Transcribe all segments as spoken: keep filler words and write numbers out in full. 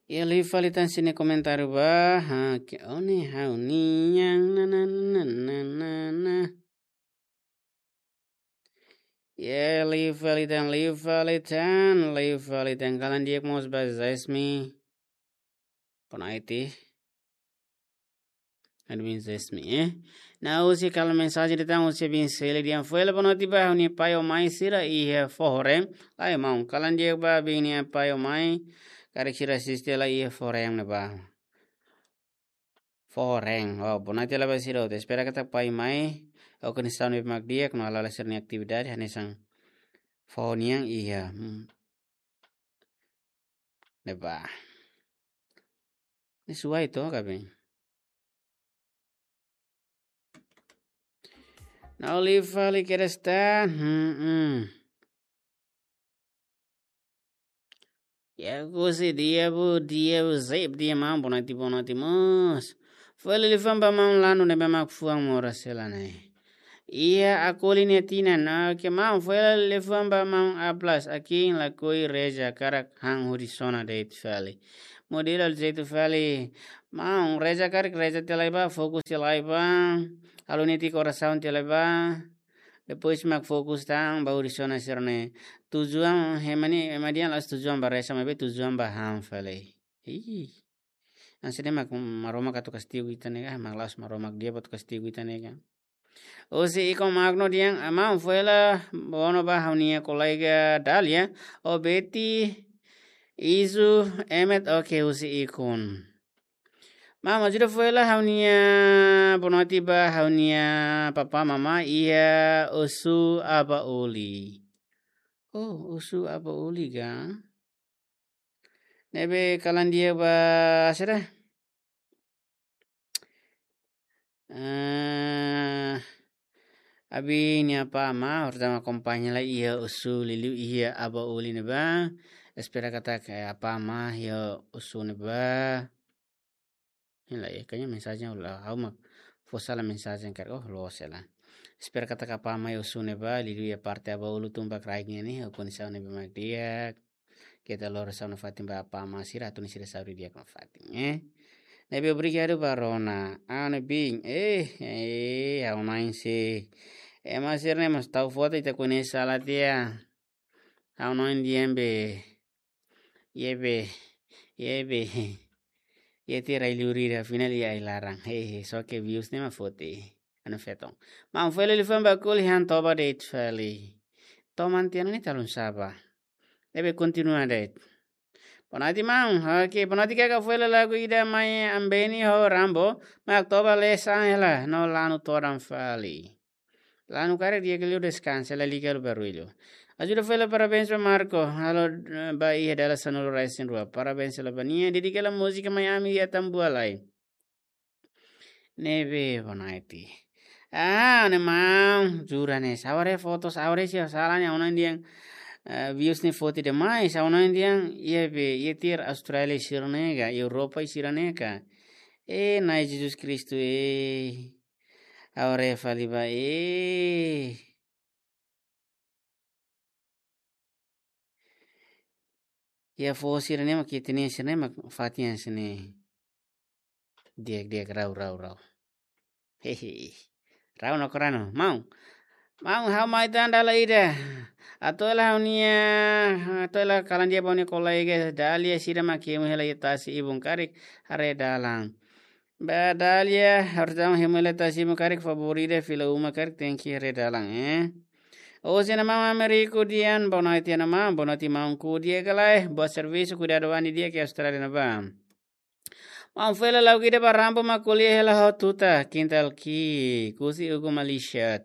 Iha liu fali tan sira-nia komentáriu ba, ha, ke one ha'u-nian, na, na, na, na, na, na. Iha liu fali tan, liu fali tan, liu fali tan. Kalan di'ak mós ba Zesmi. Boa noite. Admin Zesmi, eh. Ne'e husi kalan mensajen ida tan husi Bin Seli dehan: Foin hela boa noite ba ha'u-nia pai ho mãe sira iha Fohorem. Lae maun, kalan di'ak ba Bin nia pai ho mãe. Karik sira asiste lai iha Fohorem ne'ebá. Fohorem. Oh, boa noite hela ba sira hotu. Espera katak pai mãe ho kondisaun ne'ebé mak di'ak no hala'o sira-nia atividade hanesan foho nian iha. Hmm. Ne'ebá. Ne'e suai to, kaben. Ne'e liu fali kedas tan. Hmm, hmm. Ya, husi Diabu, Diabu, Zeb, Diabu, maun, boa noite, boa noite mós. Foin hela liafuan ba maun Lanu ne'ebé mak fuan moras hela ne'e. Iha Akoli nia tinan, ah, ke maun, foin hela liafuan ba maun Aplas, akin lakohi reza karik han hodi sona de'it fali. Modelo jeitu fali, maun, reza karik reza tiha lai ba, fokus tiha lai ba, halo netik orasaun tiha lai ba. Depois mak fokus tan ba hodi sona sira-ne'e. Tujuan, ema ne'e, ema dehan la'ós tujuan ba reza, maibé tujuan ba han fali. Ih. Hanesan ne'e mak Maromak atu kastigu ita ne'e ka, mak la'ós Maromak Diabu atu kastigu ita ne'e ka. Husi Iko Magno dehan, ah, maun, foin hela boa noite ba ha'u-nia kolega Dalia, ho Betty, Izu, Emet, oke, husi Ikon. Maun, ajuda foin hela ha'u-nia boa noite ba ha'u-nia papá mamá iha Osu Abaoli. Oh, Osu Abaoli ka? Ne'ebé kalan di'ak ba sira. Eh, Abi nia apá amá, horta mak akompaña lai iha Osu liuliu iha Abaoli ne'ebá. Espera katak, eh, apá amá iha Osu ne'ebá. Ini lah ya, kayaknya mensajen ulah, ha'u mak fó sala mensajen karik, oh, loos hela. Espera katak apá amá iha Osu ne'ebá, liuliu iha parte Abaoli tun ba kraik nian ne'e, ho kondisaun ne'ebé mak di'ak. Keta lori sauna fatin ba apá amá sira, atu nune'e sira saúde di'ak nafatin, eh. Ne'ebé obrigadu ba Rona. Ah, ne'e bin. Eh, eh, ha'u-nia ente. Ema sira-ne'e mós tau foto ita koñese sala tiha. Ha'u-nia ente di'ak be. Iha be. Iha be. Iha tiha rai luri da final iha ai-laran. Hehe, só ke views ne'e mak foti. Anu feton. Maun, foin hela liafuan ba Akoli han toba de'it fali. Toman tiha ona ne'e talun saba. Ne'ebé kontinua de'it. Boa noite, maun. Oke, boa noite, kaka, foin hela lagu ida mai Ambeni ho Rambo. Mak toba lesan hela, no Lanu todan fali. Lanu karik di'ak liu deskansa, la liga halo barullu. Ajuda foin hela parabéns ba Marco. Halo, eh, ba iha dala sanulu-resin-rua. Parabéns hela ba nia. Dedika hela múzika mai ami iha Tambualai. Ne'ebé boa noite. Ah, ne'e maun, jura ne'e. Sabar ya foto, sabar ya sih, salah ne'e, ha'u-nia ente dehan, eh, views ne'e foti demais, ha'u-nia ente dehan, iha be, iha tiha Austrália sira-ne'e ka, Europa sira-ne'e ka. Eh, Na'i Jesus Kristu, eh. Agora fali ba, eh. Iha foho sira-ne'e mak, iha tiha sira-ne'e mak fatin sira-ne'e. Di'ak, di'ak, rau, rau, rau. Hehe. Rau no korano. Maun. Maun, ha'u mai tan dala ida. Atu hela ha'u-nia, atu hela kalan di'ak ba ha'u-nia kolega Dalia sira mak kemu hela iha tasi ibun karik haree dalan. Ba Dalia, horta mak kemu hela tasi ibun karik favor ida fila uma karik tenke haree dalan, eh. Husi Ana Maun Ameriku dehan, boa noite Ana Maun, boa noite maun, di'ak ka lae, boa servisu, kuidadu an di'ak iha Austrália ne'ebá. Maun, foin hela lagu ida ba Rambo mak ko'alia hela ho tuta, kintal ki'ik, husi Hugo Malaysia.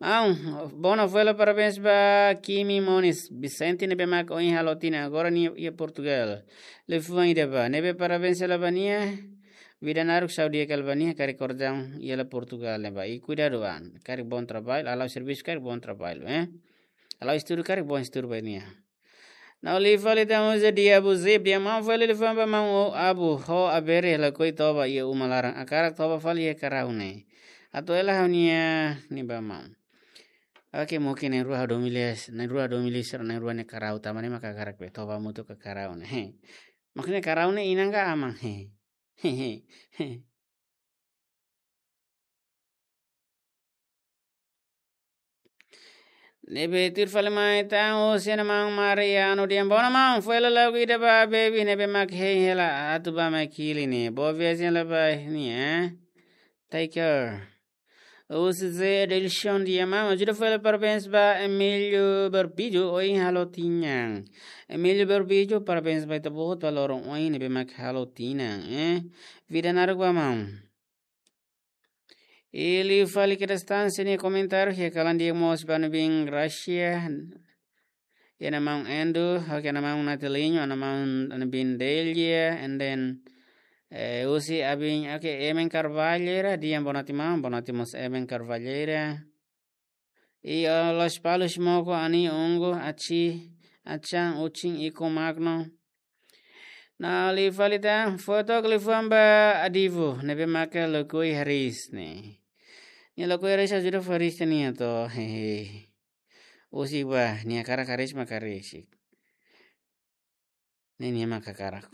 Maun, boa noite, foin hela parabéns ba Kimi Moniz, Vicente ne'ebé mak ohin halo tinan, agora nia iha Portugal. Liafuan ida ba, ne'ebé parabéns hela ba nia. Vida naruk, saúde di'ak hela ba nia, karik kordang iha Portugal ne'ebá. I kuidadu an, karik bom trabalho, hala'o servisu karik bom trabalho, eh. Hala'o estudu karik bom estudu ba nia. Ne'e liu fali tan husi Diabu Zeb, dehan maun, foin hela liafuan ba maun Abu, ho Abere lakohi toba iha uma laran, hakarak toba fali iha Karau ne'e. Atu hela ha'u-nia, ne'e ba maun. Oke, mungkin na'in-rua ha'u domin lia, na'in-rua ha'u domin lia sira, na'in-rua ne'e Karau, tanba ne'e mak hakarak be toba hamutuk ka Karau ne'e. Oke, ne'e karau ne'e inan ka aman? Ne'ebé tuir fali mai tan, husi Ana Maun Mariano Diambo. Ana Maun, foin hela lagu ida ba baby ne'ebé mak hein hela atu ba mai Kili ne'e. Boa viagem hela ba ne'e, eh? Take care. Husi Zé Adelson Diambo, ajuda foin hela parabéns ba Emílio Barbijo, ohin halo tinan. Emílio Barbijo, parabéns ba ita-boot ba loron ohin ne'ebé mak halo tinan, eh? Vida naruk ba maun. I liu fali kedas tan sira-nia komentáriu, iha kalan di'ak mós ba Ana Bin Gracia, iha Ana Maun Endo, oke, Ana Maun Natilinho, Ana Maun, Ana Bin Delia, and then, eh, husi abin, oke, Emen Carvalheira, di'ak, boa noite maun, boa noite mós Emen Carvalheira. I, eh, Lospalos Moko, Ani Ungu, Aci, Achan, Uchin, Iko Magno. No liu fali tan, foto liafuan ba Adivo, ne'ebé maka lokui hariis ne'e. Nia lokui hariis ajuda fó hariis nia to, hehe. Husi ba, nia hakarak hariis maka hariis. Ne'e nia mak hakarak.